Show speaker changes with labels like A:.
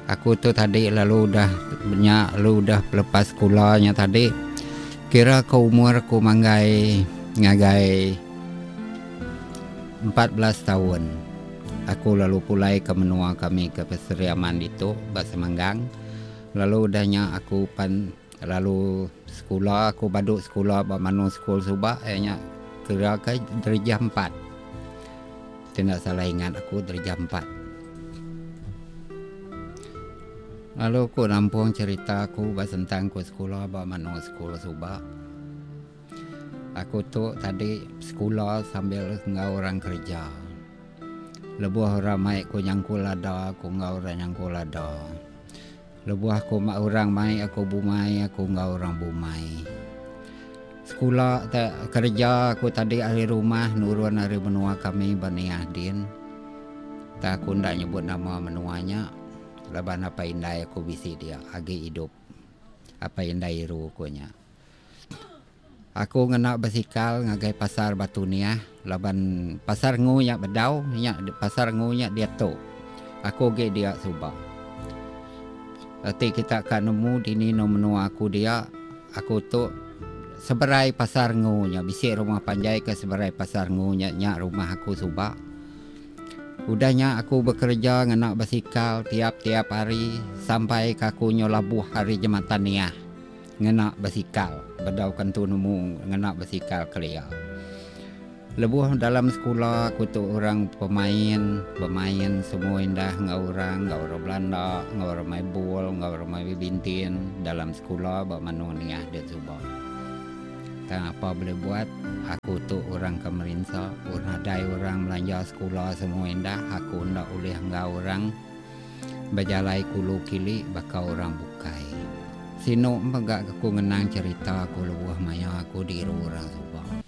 A: Aku tu tadi lalu udah nya lalu udah lepas sekula nya tadi kira ke umur aku manggai ngagai 14 taun aku lalu pulai ke menua kami ke Sri Aman ditu ba Semanggang lalu udah nya aku pan lalu sekula aku badu sekula ba Mano School suba iya nya kira ke darjah empat. Ti enda salah ingat aku darjah empat. Lalu ku nampung cherita aku ba sentang ku sekula ba menu sekula suba. Aku tu tadi sekula sambil enggau orang kereja. Lebuh orang mai ku nyangkul lada aku enggau orang nyangkul lada. Lebuh aku orang mai aku bumai aku enggau orang bumai. Sekula te kereja aku tadi ari rumah nurun ari menua kami ba Niah din. Tang aku enda nyebut nama menua nya laban apai indai aku bisi dia agi idup. Apai indai iru ku nya. Aku ngena basikal ngagai pasar Batu Niah laban pasar ngu nya bedau nya pasar ngu nya diatu. Aku agi dia suba. Enti kita ka nemu dini endur menua aku dia, aku tu seberai pasar ngu nya bisi rumah panjai ke seberai pasar ngu nya nya rumah aku suba. Udah nya aku bekereja ngena basikal tiap-tiap hari sampai ka aku nyau labuh ari jematan Niah ngena basikal bedau ke entu nemu ngena basikal kelia. Lebuh dalam sekula aku tu orang pemain, bemain semua indah enggau orang, enggau orang belanda, enggau orang main bol, enggau orang main badminton dalam sekula ba menu niah din suba. Tang apa boleh buat, aku tu orang ke merinsa, nadai orang belanja sekula semua indah, aku enda ulih enggau orang bejalai kulu kili baka orang bukai. Sinu mega aku ngenang cherita aku lebuh maya aku diru orang suba.